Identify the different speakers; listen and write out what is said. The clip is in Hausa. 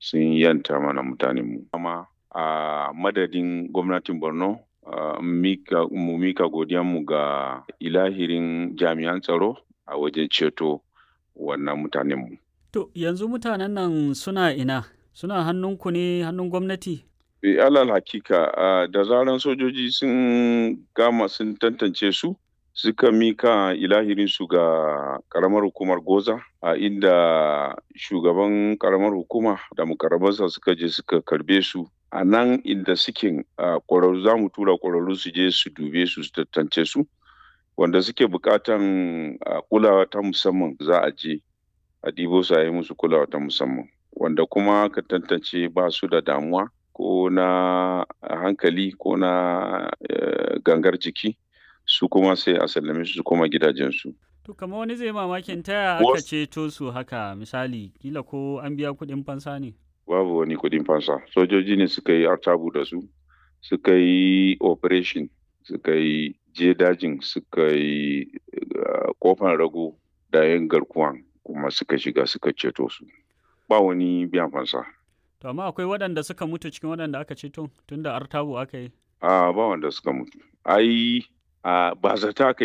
Speaker 1: Sun yanta mana mutanenmu. Amma a madadin gwamnatin Borno, mu mika godiyanmu ga ilahirin jami'an tsaro a wajen ceto wannan mutanenmu.
Speaker 2: To yanzu mutanen nan suna ina? Suna hannunku ne, hannun gwamnati?
Speaker 1: Alal hakika, da zaran sojoji sun gama sun tantance su, suka mika ilahirinsu ga karamar hukumar Goza, a inda shugaban karamar hukuma da mukarrabansa suka je suka karbe su. A nan inda suke, ƙwararru, za mu tura ƙwararru su je su dube su, su tantance su. Wanda suke buƙatan kulawa ta musamman, za a je a ɗibo su, a yi musu kulawa ta musamman. Wanda kuma ka tantance ba su da damuwa ko na hankali ko na gangar jiki, su kuma sai a sallame su su koma gidajensu.
Speaker 2: To kamar wani zai mamakin ta yaya aka ceto su haka, misali kila ko an biya kuɗin fansa ne?
Speaker 1: Babu wani kuɗin fansa. Sojoji ne suka yi artabu da su, suka yi operation, suka yi je dajin, suka yi kofan rago da yan garkuwan, kuma suka shiga suka ceto su. Ba wani biyan fansa.
Speaker 2: To amma akwai waɗanda suka mutu cikin waɗanda aka ceto, tunda artabu aka yi?
Speaker 1: A ba wanda suka mutu. Ai ba zata aka yi.